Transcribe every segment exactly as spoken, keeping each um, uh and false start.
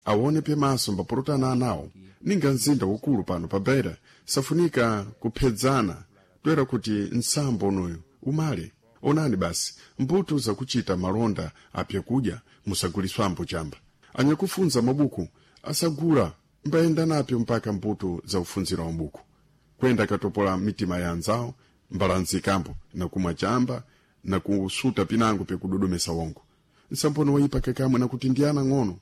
Awone pyemaso mbapulutana anawo ninga mzinda ukulu pano pa Beira safunika kuphedzana toera kuti nsambo unoyu umale. Onani basi mbuto zakuchita malonda apyakudya musaguliswambo chamba. Anyakufunza mabuku asagula mbayenda napyo mpaka mbuto za ufunzira wa mabuku kwenda akatopola mitima ya anzawo mbalanzikambo nakumwa chamba na kusuta pinango pyekudodomesa wongo. Nsambono wayipa kakamwe nakuti ndi ana ng'ono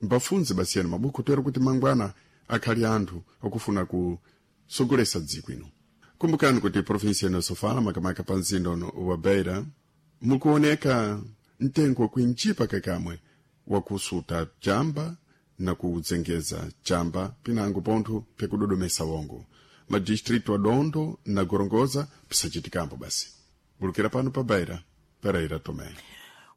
mbafunze basiyani mabuku toera kuti mangwana akhali anthu akufuna kusogolesa dziko ino. Kumbukani kuti provinsi ino Sofala, makamaka pa mzinda uno wa Beira, mukuoneka mtengo wakuinjipa kakamwe wakusuta chamba na kudzengeza chamba pinango pontho pyekudodomesa wongo. Madistritu a Dondo na Gorongosa pisachitikambo basi. Bulukira pano pa Beira, Pereira Tomé.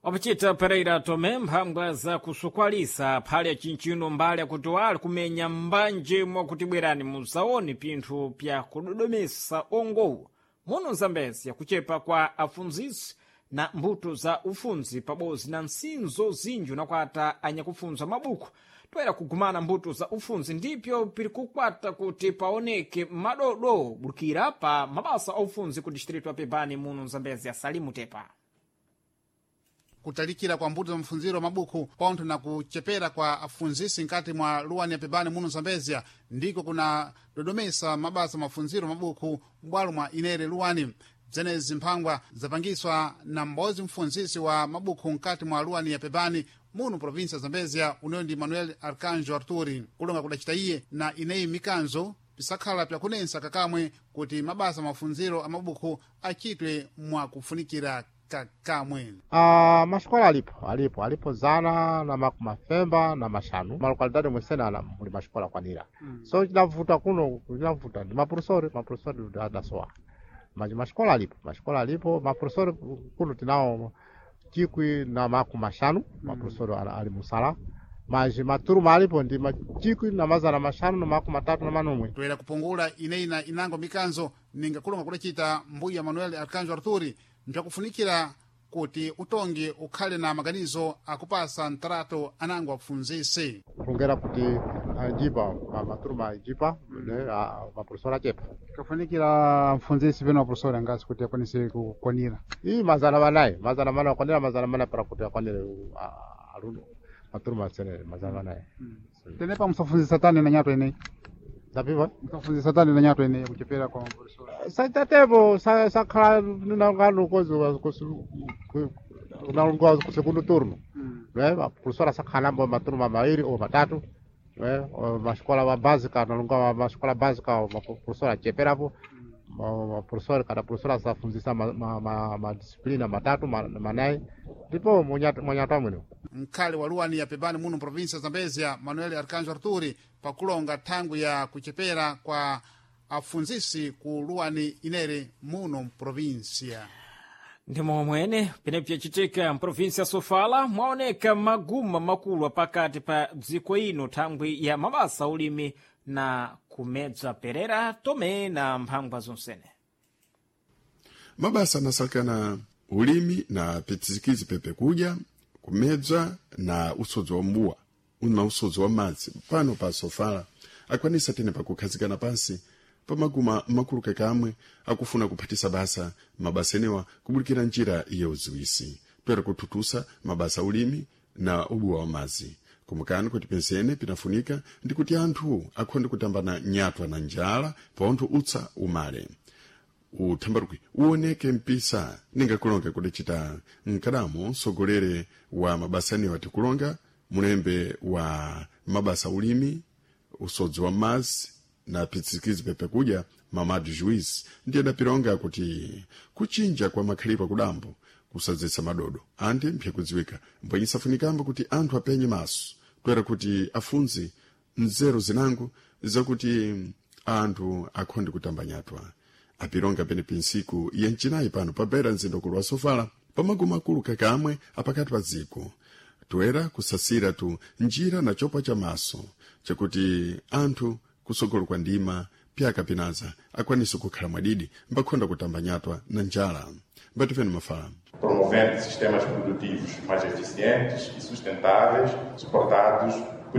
Wapachita Pereira Tomé mphangwa za kusukwalisa phali ya chinchino mbali yakuti wali kumenya mbanje mwakuti bwerani musaone pinthu pya kudodomesa ongowu muno Zambezi yakuchepa kwa afunzisi na mbuto za ufunzi pabodzi na nsinzo zinji unakwata anyakufunza mabuku toera kugumana mbuto za ufunzi ndipyo piri kukwata kuti paoneke madodo bulukira pa mabasa a ufunzi ku distritu ya Pebani muno Zambezi ya Salimu Tepa. Kutalikira kwa mbuto za mafunziro mabuku pontho na kuchepera kwa afunzisi nkati mwa luwani ya Pebani muno Zambezia ndiko kuna dodomesa mabasa mafunziro mabuku m'bwalo mwa inere luwani. Bzenezi mphangwa zapangiswa na m'bodzi mfunzisi wa mabuku nkati mwa luwani ya Pebani muno provinsia ya Zambezia, uneyo ndi Manuel Arcanjo Arturi. Kulonga kudacita iye na ineyi mikanzo pisakhala pyakunensa kakamwe kuti mabasa mafunziro a mabuku achitwe mwakufunikira kakamwe. Ah, maxikola alipo alipo alipo zana na makumi mafemba na maxanu malokalidade mwesenala muli maxikola akwanira mm. So cinavuta kuno cinavuta ndi mapurusori mapurusori adasowa maji maxikola alipo maxikola alipo mapurusori kuno tinawo chikwi na makumi maxanu mapurusori ali, ali musala maji maturuma alipo ndi machikwi na mazana maxanu na makumi matatu na manomwe. Toera kupungula ineyi na inango mikanzo ninga kulonga kudacita mbuya Manuel Arcanjo Arturi mpyakufunikira kuti utongi ukhale na maganizo akupasa mtarato anango afunzisi kulongera kuti anjipa maturuma anjipa mapurusori achepa kafunikira mfunzisi peno mapurusori angasi kuti akwanise kukwanira iyi mazana manayi mazana manayi akwanira mazana manayi para kuti akwanire aluno maturuma asenere mazana manayi. Tenepa musafunzisa tani na nyato ineyi ndapiva musafunzisa tani na nyato ineyi kuchepera kwa mapurusori saitatepo sakhala nangano kozi nalongoa ku segundo turno ne mapurusori asakhalambo maturuma mairi o matatu ne maxikola ma básica nalongoa maxikola básica mapurusori acheperapo mapurusori kada purusori asafunzisa madisiplina matatu manayi ndipo mwanyatu amwene. Mkhale wa luwani ya Pebani muno provinsia ya Zambezia Manuel Arcanjo Arturi pakulonga thangwi ya kuchepera kwa afunzisi ku luwani inere muno provinsia. Ndimo mwene pene pyacitika mprovinsi ya Sofala mwaoneka maguma makulu apakati pa dziko ino thangwi ya mabasa ulimi na kumedza Perera Tome na mphangwa zonsene. Mabasa anasalekana ulimi na pitizikizi pepe kudya kumedza na usodzi wa mbuwa na usodzi wa madzi pano pa Sofala akwanisa tene pakukhazikana pansi pamaguma makulu kakamwe akufuna kuphatisa basa mabasa enewa kubulikira njira ya uziwisi toera kuthutusa mabasa ulimi na ubuwa wa madzi. Kumbukani kuti pensene pinafunika ndi kuti anthu akhonde kutambana nyatwa na njala paontho utsa umale uthambaruki uoneke mpisa ninga kulonga kudacita mkadamo msogolere wa mabasa anewa tikulonga mulembe wa mabasa ulimi usodzi wa madzi na pitsikizi pepe kudya Mamadu Juiz ndiye adapilonga kuti kuchinja kwa makhalidwe akudambo kusadzetsa madodo andi mpyakudziwika mbwenye safunikambo kuti anthu apenye maso toera kuti afunze nzeru zinango zakuti anthu akhonde kutamba nyatwa. Apilonga penepi ntsiku ya mcinayi pano pa Beira mzinda ukulu wa Sofala pamaguma akulu kakamwe apakati pa dziko toera kusasira tu njira na chopa cha maso chakuti anthu kusogolo kwa ndima pyaka pinaza akwanise kukhala mwadidi mbakhonda kutamba nyatwa na njala. Mbatifeni mafala. Promovendo sistemas produtivos mais eficientes e sustentáveis, suportados